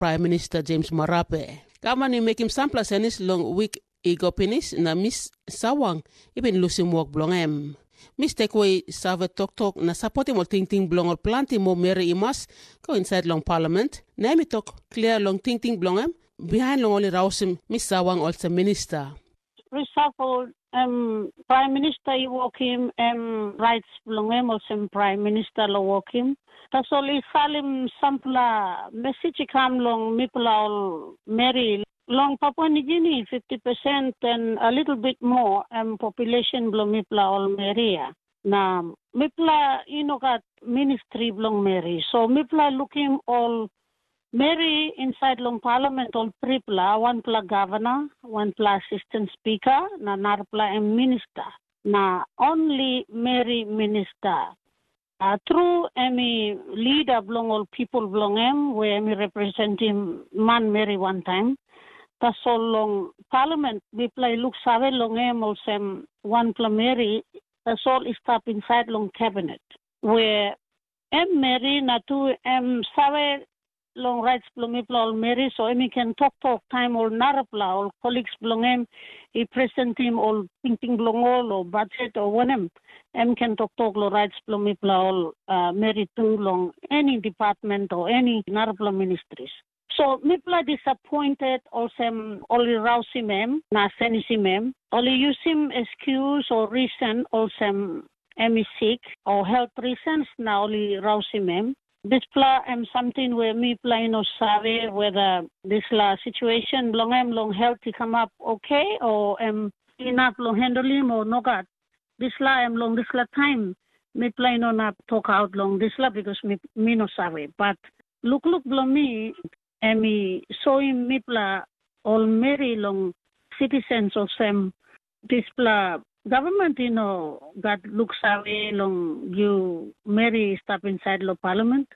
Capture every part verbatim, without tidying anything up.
Praim Minista Jems Marape. Gavman i mekim sampela senis long wik i go pinis, na Mis Sawang i bin lusim wok bilong em. Mis Tekwe i save toktok na sapotim ol tingting bilong ol planti moa meri i mas go insait long palament, na em i tok klia long tingting bilong em bihain long ol i rausim Mis Sawang olsem minista. Reshuffle, em Praim Minista i wokim, em rait bilong em olsem Praim Minista long wokim. Tasol i salim sampela mesij i kam long mipela ol meri. Long Papua Nugini, fifty percent and a little bit more, em population bilong mipela ol meri ya. Na mipela i no gat ministri bilong meri. So mipela lukim ol meri insait long palament ol tripela, wanpela gavana, wanpela asistan spika, na narapela em minista. Na only meri minista. A, tru em i lida bilong ol pipel bilong em, we em i representim manmeri wantaim. Tasol long palament, mipela i luksave long em olsem wanpela meri, tasol i stap insait long kabinet. We em meri na tu em save long rait bilong mipela ol meri, so em i ken toktok taim ol narapela, ol koliks bilong em i presentim ol tingting bilong ol, o bajet, o wanem, em ken toktok long rait bilong mipela ol uh, meri tu long eni department o eni narapela ministris. So mipela disappointed olsem ol i rausim em na senisim em. Ol i yusim excuse o reason olsem em i sik, o health reasons na ol i rausim em. Dispela em samting we mipela i no save whether dispela situation bilong em long health i kamap okay, o em inap long handlim o nogat. Dispela em long dispela taim mipela i no inap tokaut long dispela, because mi, mi no save. But lukluk bilong mi, em i soim mipela ol meri long sitisens olsem, dispela gavman i no gat luksave long yu meri i stap insait long palament.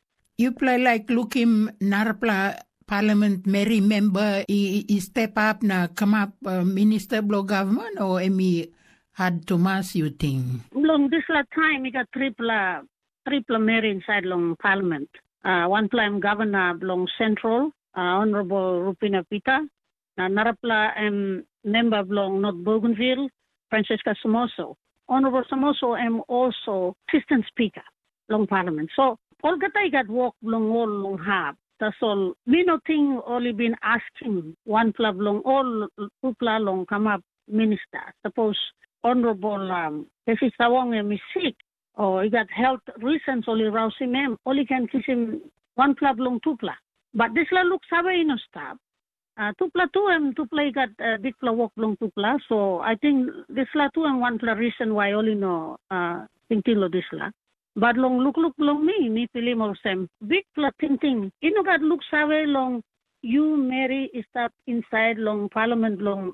Yupela laik lukim narapela palament meri memba i, i step up na kamap uh, minista bilong gavman, o em i had tumas, yu ting? Long dispela taim i gat tripela tripela meri insait long palament. Uh, wanpela em gavana bilong sentral, uh, honorable Rupina Pita, na narapela em memba bilong North Bougainville, Francesca Somoso. Honorable Somoso em also assistant speaker long parliament. So olgeta i gat wok bilong ol long hap. Tasol mi no ting ol i bin askim wanpela bilong ol tupela long kamap minista. Sapos honorable um, Pesi Sawong em i sik, o i gat health reasons ol i rausim em, ol i ken kisim wanpela bilong tupela. But dispela luksave i no stap. Uh, tupela tu em tupela i gat uh, bikpela wok bilong tupela, so I think dispela tu em wanpela reason why ol i no uh, tingting long dispela. But long lukluk bilong mi, mi pilim olsem, bikpela tingting i no gat luksave long yu meri i stap insait long palamen bilong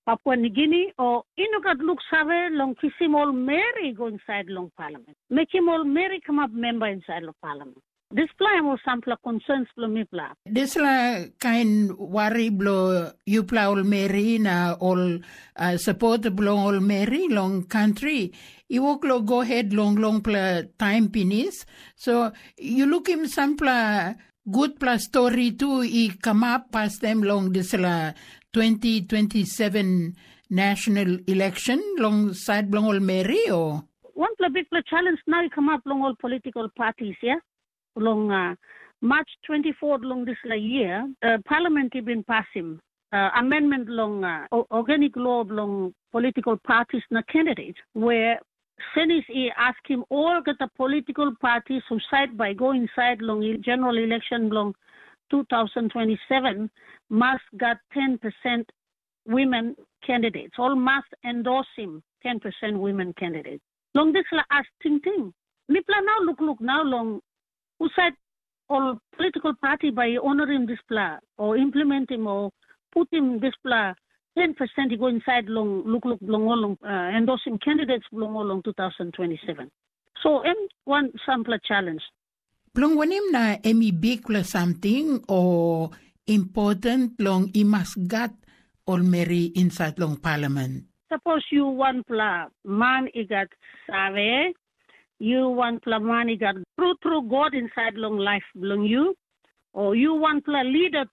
Papua Nigini, o i no gat luksave long kisim ol meri i go insait long palamen, mekim ol meri kamap memba insait long palamen. Dispela em ol sampela konsens bilong mipela. Dispela kain wari bilong yupela ol meri na ol uh, sapot bilong ol meri long kantri i wok long go het long longpela taim pinis. So yu lukim sampela gutpela stori tu i kamap pastaim long dispela twenty twenty-seven national election long sait bilong ol meri, o? Wanpela bikpela challenge nau i kamap long ol political parties, ya. Long uh, March twenty-four long dispela year, uh, Parliament i bin pasim uh, amendment long uh, organic law bilong political parties na candidates, where Senate i askim olgeta political parties who side by go inside long general election bilong two thousand twenty-seven must got ten percent women candidates, all must endorse him ten percent women candidates. Long dispela as tingting, mipela nau lukluk nau long husat ol political party bai i onorim dispela o implementim o putim dispela ten percent i go insait long lukluk bilong ol long uh, endosim candidates bilong ol long two thousand twenty-seven. So em wan sampela challenge. Bilong wanem na em i bikpela samting o important long i mas gat ol meri insait long palamen? Sapos yu wanpela man i gat save, yu wanpela man i gat tru tru God insait long laip bilong yu, o yu wanpela lida